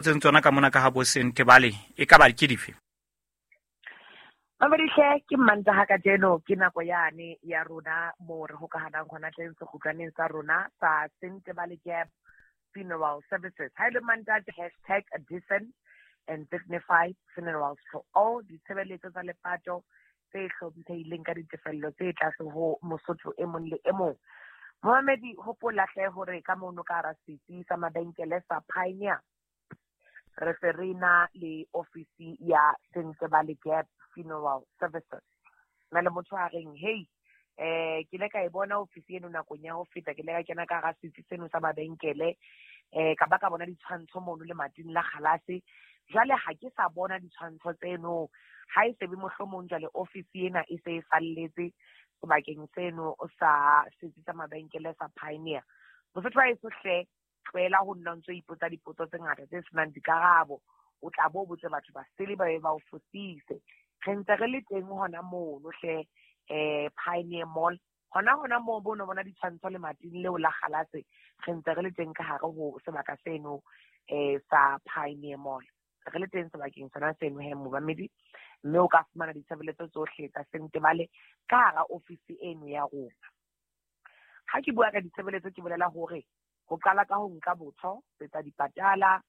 Tseng tsona ka mona ka ha bo Sentebale e ka ba ke dife? Mamedihle, ke Mmantaha kajeno, ke nako yane ya rona moo re hokahanang hona teng sekgutlwaneng sa rona sa Sentebale Gap Funeral Services. Ha e le Mantaha, #DecentAndDignifiedFunerals for all, ditshebeletso tsa lepato tse hlomphehileng ka ditefello tse tlase ho Mosotho e mong le e mong. Momamedi, hopola hle hore ka mono ka hara setsi sa mabenkele sa Pioneer re se re na le ofisi ya Sentebale Gap Funeral Services. Na le motho a reng, hey, ke ile ka e bona ofisi eno nakong ya ho feta, ke ile ka kena ka hara setsi seno sa mabenkele, ka ba ka bona ditshwantsho mono lemating la kgalase. Jwale ha ke sa bona ditshwantsho tseno, ha e sebe mohlomong jwale ofisi ena e se e falletse sebakeng seno sa setsi sa mabenkele sa Pioneer. Mosotho wa heso hle, tlohela ho nna o ntso ipotsa dipotso tse ngata tse senang dikarabo. O tla bo botse batho ba sele ba be ba o fosise. Re ntse re le teng hona mono hle, Pioneer Mall. Hona hona moo bo no bona ditshwantsho lemating leo la kgalase, re ntse re le teng ka hare ho sebaka seno sa Pioneer Mall. Re le teng sebakeng sona seno he momamedi, mme o ka fumana ditshebeletso tsohle tsa Sentebale ka hara ofisi eno ya rona. Ha ke bua ka ditshebeletso ke bolela hore ho qala ka ho nka botho, etsa dipatala,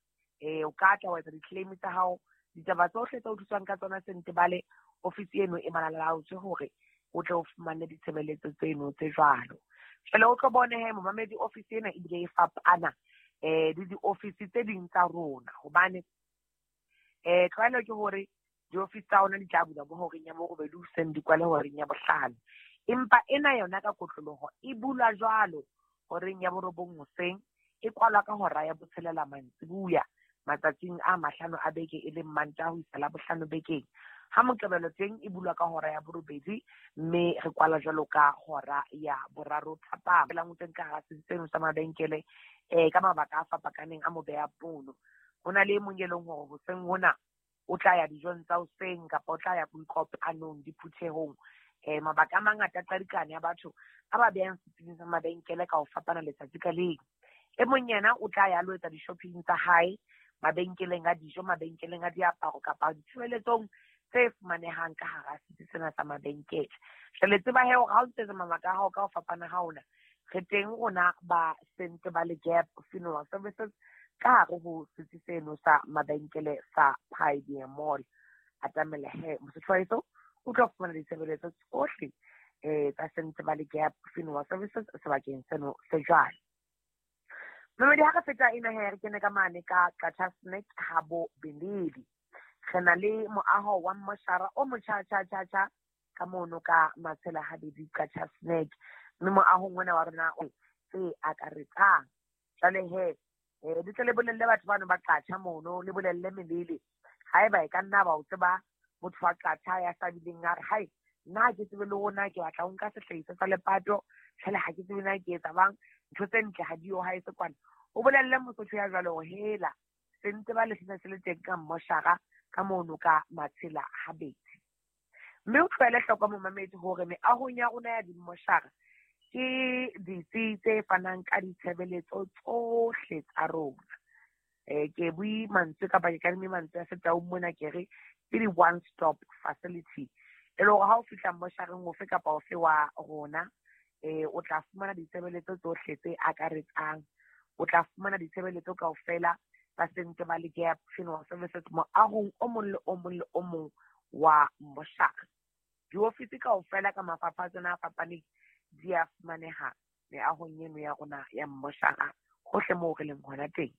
o ka tla wa etsa di-claim tsa hao, ditaba tsohle tse o thuswang ka tsona Sentebale, ofisi eno e malalaotswe hore o tle o fumane ditshebeletso tseno tse jwalo. Jwale o tlo bone he momamedi, ofisi ena ebile e fapana le diofisi tse ding tsa rona, hobane tlwaelo ke hore diofisi tsa rona di tla bulwa bo horeng ya borobedi hoseng, di kwale horeng ya bohlano. Empa ena yona ka kotloloho e bulwa jwalo horeng ya borobong hoseng, e kwalwa ka hora ya botshelela mantsibuya matsatsing a mahlano a beke, e leng Mantaha ho isa Labohlano bekeng. Ha Moqebelo teng e bulwa ka hora ya borobedi, mme re kwala jwalo ka hora ya boraro thapama. Felang o teng ka hara setsi seno sa mabenkele, ka mabaka a fapakaneng a mo beha pono. Ho na le e mong e leng hore hoseng hona o tla ya dijong tsa hoseng kapa o tla ya boikopanong, diphuthehong. Mabaka a mangata a qadikane ya batho a ba behang setsing sa mabenkele ka ho fapana letsatsi ka leng. E mong yena o tla ya lo etsa di-shopping tsa hae mabenkeleng a dijo, mabenkeleng a diaparo kapa ditshebeletsong tse fumanehang ka hara setsi sena sa mabenkele. Jwale tseba he hore ha o ntse mabaka a hao ka ho fapana ha ona, re teng rona ba Sentebale Gap Funeral Services ka hare ho setsi seno sa mabenkele sa Pioneer Mall. Atamela he mosotho wa heso, o tlo fumana ditshebeletso tsohle tsa Sentebale Gap Funeral Services sebakeng seno se jwalo. Mamedi, ha re feta ena he, re kene ka mane ka Qacha's Nek habo Beledi. Re na le moaho wa mmoshara o motjha tjha tjha tjha ka mono ka Matshela Habedi Qacha's Nek. Mme moahong ona wa rona o tse akaretsang. Jwale he, le tle le bolelle batho bano ba Qacha mono, le bolelle Melele. Haeba e ka nna ba o tseba motho wa Qacha ya sa bileng a re, hai, nna ha ke tsebe le hore na ke batla ho nka sehlahiswa sa lepato, jwale ha ke tsebe na ke etsa bang, ntho tse ntle ha di yo ha e se kwana. O bolelle Mosotho ya jwalo hore hela, Sentebale se se le teng ka mmoshara ka mono ka Matshela Habedi. Mme o tlohele hloko momamedi hore meahong ya rona ya dimmoshara ke ditsi tse fanang ka ditshebeletso tsohle tsa rona. Ke bue mantswe kapa ke kadime mantswe a Setaung mona, ke re ke di one stop facility. E le hore ha o fihla mmoshareng ofe kapa ofe wa rona, o tla fumana ditshebeletso tsohle tse akaretsang. O tla fumana ditshebeletso kaofela tsa Sentebale Gap Funeral Services moahong o mong le o mong le o mong wa mmoshara. Diofisi kaofela ka mafapha a tsona a fapaneng di a fumaneha meahong eno ya rona ya mmoshara hohle moo re leng hona teng.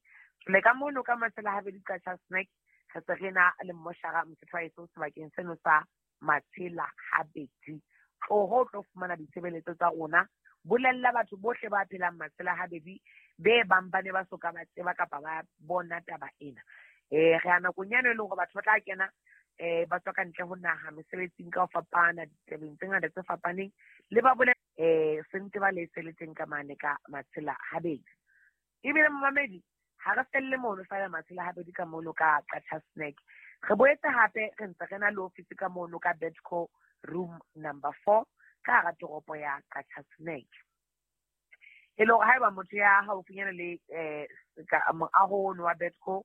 Le ka mono ka Matshela Habedi Qacha's Nek, re se re na le mmoshara Mosotho wa heso sebakeng seno sa Matshela Habedi. Tloho o tlo fumana ditshebeletso tsa rona. Bolella batho bohle ba phelang Matshela Habedi be bang ba ne ba soka ba tseba kapa ba bona taba ena. Re a nakong yane e leng hore batho ba tla kena, ba tswa ka ntle ho naha mesebetsing ka ho fapana, ditabeng tse ngata tse fapaneng, le ba bole, Sentebale se le teng ka mane ka Matshela Habedi. Ebile momamedi, ha re felle mono feela Matshela Habedi ka mono ka Qacha's Nek. Re boetse hape re ntse re na le ofisi ka mono ka Bedco room number 4 ka hara toropo ya Qacha's Nek. E le hore haeba motho ya haufinyana le ka moaho ono wa Bedco